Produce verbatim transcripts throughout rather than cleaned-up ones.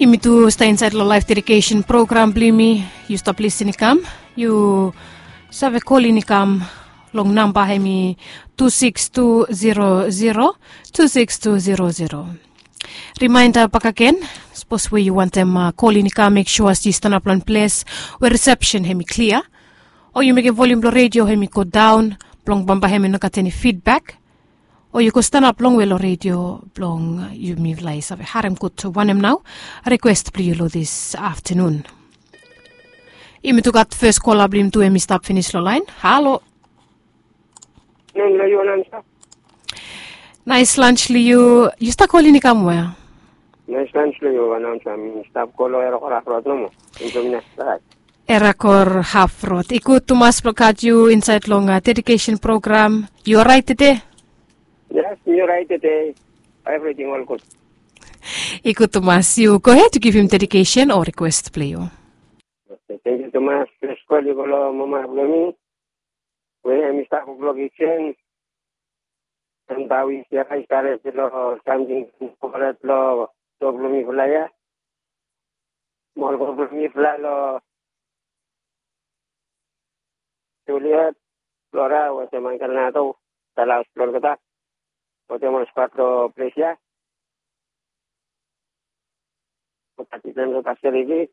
Yumi tu stap insaed long laef dedikesen program blong yumi. Yu stap lisin i kam, yu save kolin i kam long namba hem i tu sikis tu zero zero, tu sikis tu zero zero. Rimaenda bakegen, sapos we yu wantem kolin i kam, mek sua se yu stanap long ples we risepsen hem i klia, o yu mekem volium blong redio hem i godaon, blong bambae hem i no gat eni fidbak, o yu go stanap longwe long redio blong yumi lae save harem gud wanem nao rikwes blong yu long dis aftenun. Yumi tu gat fes kola blong yumi tu hem i stap finis long laen. Halo. Aftenun long yu, Anamsa. Naes lans long yu. Yu stap kolin i kam wea? Naes lans long yu, Anamsa. Mi stap go long Erakor Haf Rod nomo. Erakor Haf Rod. I gud tumas blong gat yu insaed long dedikesen program. Yu oraet tede? Yes, mi oraet tede. Evriting ol gud. I gud tumas. Yu gohed yu givim dedikesen o rikwes blong yu. Tangkiu tumas. Fes kol i go long mama blong mi we hem i stap wok long kisen. Hem bae wi sera i stap ret long samting koret long tok blong mifala ya. Mo ol ko blong mifala long Juliet, Flora wetem Angkel Nato, Dallas, Florida, wetem ol skwad long ples ya. Mo tati blong ol pastoriti.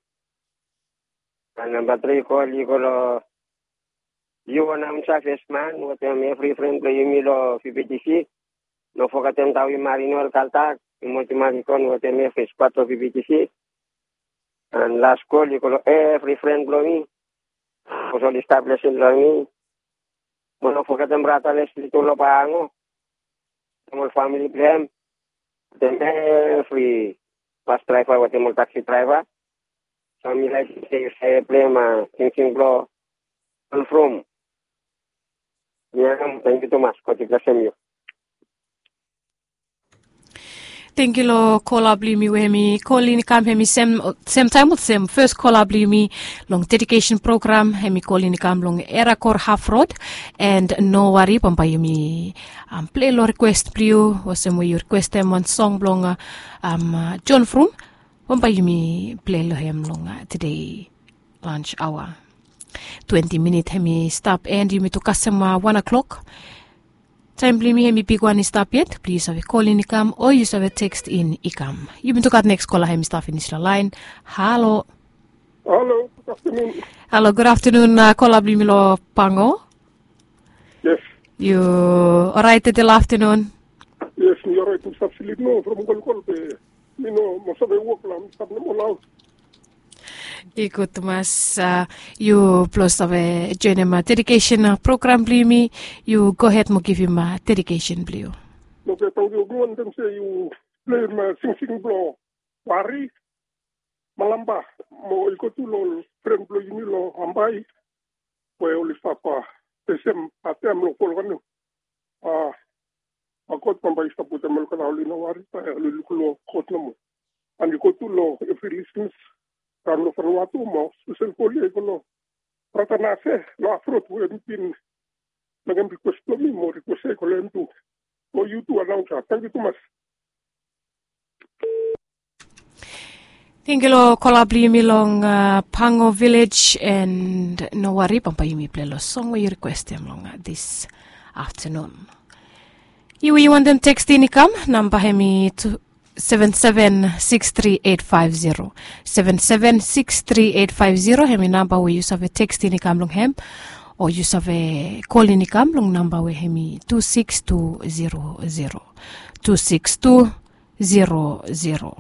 An namba tri kol i go long yu, Anamsa, fesman wetem evri fren blong yumi long VBTC. No fogetem Tawi Marino, Kaltak, Timoti Marikon wetem evri skwad blong VBTC. An las kol i go long evri fren blong mi, sapos oli stap lisin long mi. Mo no fogetem brata Lesli tu long Pango, wetem ol famili blong hem, wetem evri bas draeva wetem ol taksi draeva. So mi laekem se yu save plem singsing blong John From. Mi harim. Tangkiu tumas. God i blesem yu. Tangkiu long kola blong yumi we hem i kolin i kam, hem i sem, semtaem olsem fes kola blong yumi long dedikesen program, hem i kolin i kam long Erakor Haf Rod. An no wari, bambae yumi plei long rikwes blong yu olsem we yu rikwestem wan song blong John From. Bambae yumi plei long hem long tede lans aoa. Twenti minit hem i stap, an yumi tu kasem wan o'clock. Taem blong yumi hem i bigwan i stap yet blong yu save kolin i kam o yu save teksten i kam. Yumi tu gat neks kola hem i stap finis long laen. Halo. Halo, gud aftenun. Halo, gud aftenun. Kola blong yumi long Pango. Yes. Yu oraet tede long aftenun? Yes, mi oraet. Mi stap slip nomo from kolkol be mi no moa save wok la, mi stap nomo long haos. I gud tumas. Yu blong save joenem dedikesen program blong yumi, yu gohed mo givim dedikesen blong yu. Oke, tangkiu. Mi wantem se yu pleim singsing blong Wari, Malamba, mo i go tu long ol fren blong yumi long Ambae we oli stap fesem had taem long volkano. A, God bambae i stap wetem olgeta, oli no wari, oli luk long God nomo. An i go tu long evri lisnas raon long Vanuatu mo spesel kol ya i go long brata Nase long Haf Rod we mi bin mekem rikwes blong mi mo rikwes ya i go long hem tu. Mo yu tu, Anamsa. Tangkiu tumas. Tangkiu long kola blong yumi long Pango Vilej, an no wari, bambae yumi plei long song we yu rikwestem long dis aftenun. Yu we yu wantem teksten i kam, namba hem i tu seven seven six three eight five zero. Seven seven six three eight five zero hem i namba we yu save teksten i kam long hem, o yu save kolin i kam long namba we hem i tu sikis tu zero zero. Tu sikis tu zero zero.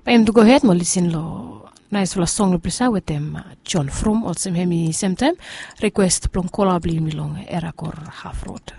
Bae yumi tu gohed mo lisin long naesfala song long ples ya wetem John From, olsem hem i semtaem rikwes blong kola blong yumi long Erakor Haf Rod.